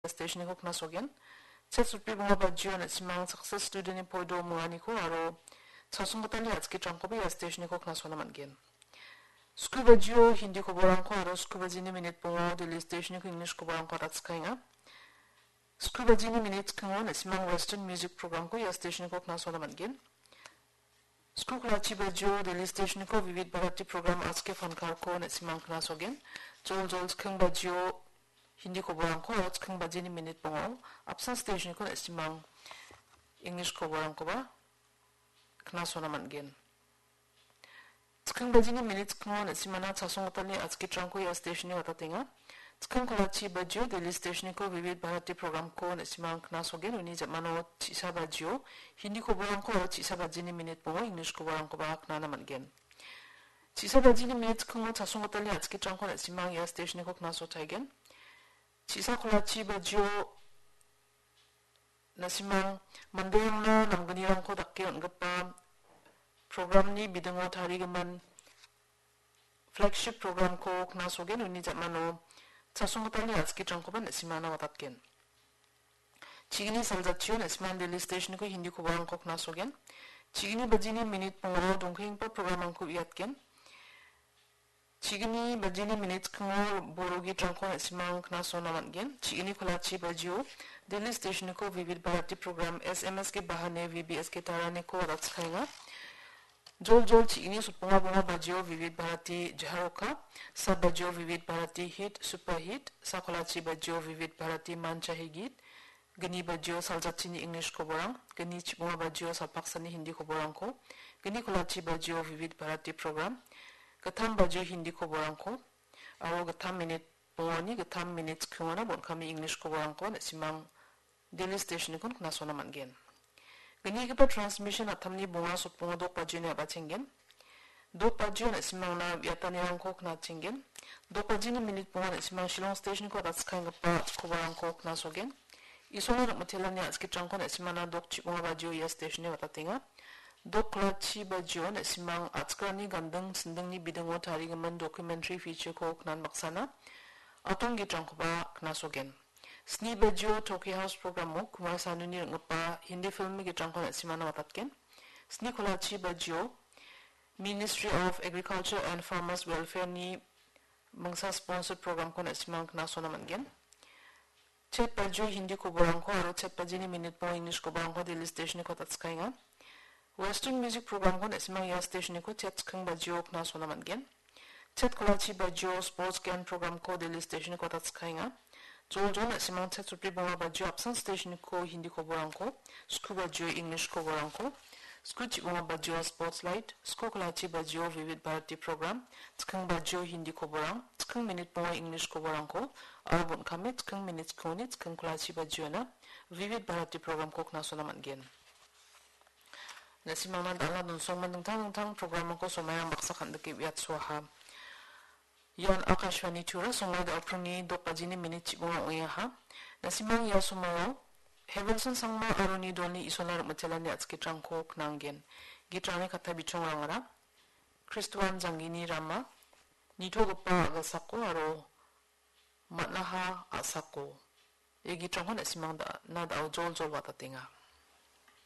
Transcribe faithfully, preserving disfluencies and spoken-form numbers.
stationko knasogen. Chet sutri bonga bajio na·simang Success Student-ni poido minganiko aro chasonggitalni a·skitrangkoba ia stationko knasona man·gen. Sku bajio Hindi koborangko aro sku bajini minit bongo Delhi stationko English koborangko adatskaenga. Sku bajini minit skingo na·simang Western music programko ia stationko knasona man·gen. Sku kolachi bajio Delhi stationko Vivid Bharati program Aaj Ke Fankarko na·simang knasogen. Jol jol sking bajio Hindi koborangko aro sking bajini minit bongo apsan stationko na·simang English koborangkoba knasona man·gen. Sking bajini minit skingo na·simana chasonggitalni a·skitrangko ia stationni watatenga. Sking kolachi bajio Delhi stationko Vivid Bharati programko na·simang knasogen, uni ja·mano chisa bajio Hindi koborangko aro chisa bajini minit bongo English koborangkoba knana man·gen. Chisa bajini minit skingo chasonggitalni a·skitrangko na·simang ia stationko knasotaigen. Chisa kolachi bajio na·simang manderangna namgnirangko dake on·gipa programni bidingo tarigimin flagship programko knasogen, uni ja·mano chasonggitalni a·skitrangkoba na·simana watatgen. Chigini saljatchio na·simang Delhi stationko Hindi koborangko knasogen. Chigini bajini minit bongo dongkenggipa programrangko uiatgen. Chigini bajini minit skingo boro gitrangko na·simang knasona man·gen. Chigini kolachi bajio Delhi stationko Vivid Bharati program S M S Ke Bahane V B S Ke Tarane ko adatskaenga. Jol jol chigini sotbonga bonga bajio Vivid Bharati Jaharoka, sa bajio Vivid Bharati Hit Superhit, sa kolachi bajio Vivid Bharati Manchahi Git, gni bajio saljatchini English koborang, gni chibonga bajio salpaksani Hindi koborangko, gni kolachi bajio Vivid Bharati program, gittam bajio Hindi koborangko, aro gittam minit bongoni gittam minit skingona bon·kami English koborangko na·simang Delhi stationko knasona man·gen. Gnigipa transmission attamni bonga sotbongo dok bajioni a·bachenggen. Dok bajio na·simangna uiatanirangko knachenggen. Dok bajini minit bonga na·simang Shillong stationko adatskaenggipa koborangko knasogen. Isolni rim·itelani a·skitrangko na·simana dok chibonga bajio ia stationni watatenga. Dok kolachi bajio na·simang a·chikrani ganding sindingni bidingo tarigimin documentary featureko knan baksana atong gitrangkoba knasogen. Sni bajio Tokyo House programo Kumar Sanuni ring·gipa Hindi filmni gitrangko na·simana watatgen. Sni kolachi bajio Ministry of Agriculture and Farmers Welfareni mingsa sponsored programko na·simang knasona man·gen. Chet bajio Hindi koborangko aro chet bajini minit bongo English koborangko Delhi stationko adatskaenga. Western music programko na·simang ia stationko chet sking bajio knasona man·gen. Chet kolachi bajio sports gen programko Delhi stationko adatskaenga. Jol jol na·simang chet sutri bonga bajio apsan stationko Hindi koborangko, sku bajio English koborangko, sku chibonga bajio sports light, sku kolachi bajio Vivid Bharati program, sking bajio Hindi koborang, sking minit bonga English koborangko, aro bon·kame sking minit skingoni sking kolachi bajiona Vivid Bharati programko knasona man·gen. Na·simangna dal·a donsongman dingtang dingtang programrangko somairang baksa kan·dike uiatsoaha. Ian Akashvani Tura, songai da·opringni dok bajini minit chibonga ong·engaha. Na·simang ia somaio Heavenson Sangma aro ni dolni Isolna rim·itelani a·skitrangko knanggen. Gitrangni katta bichongrangara Kristoan janggini rama, nitogipa a·gilsako aro man·aha a·sako. Ia gitrangko na·simang da-, na da·o jol jol watatenga.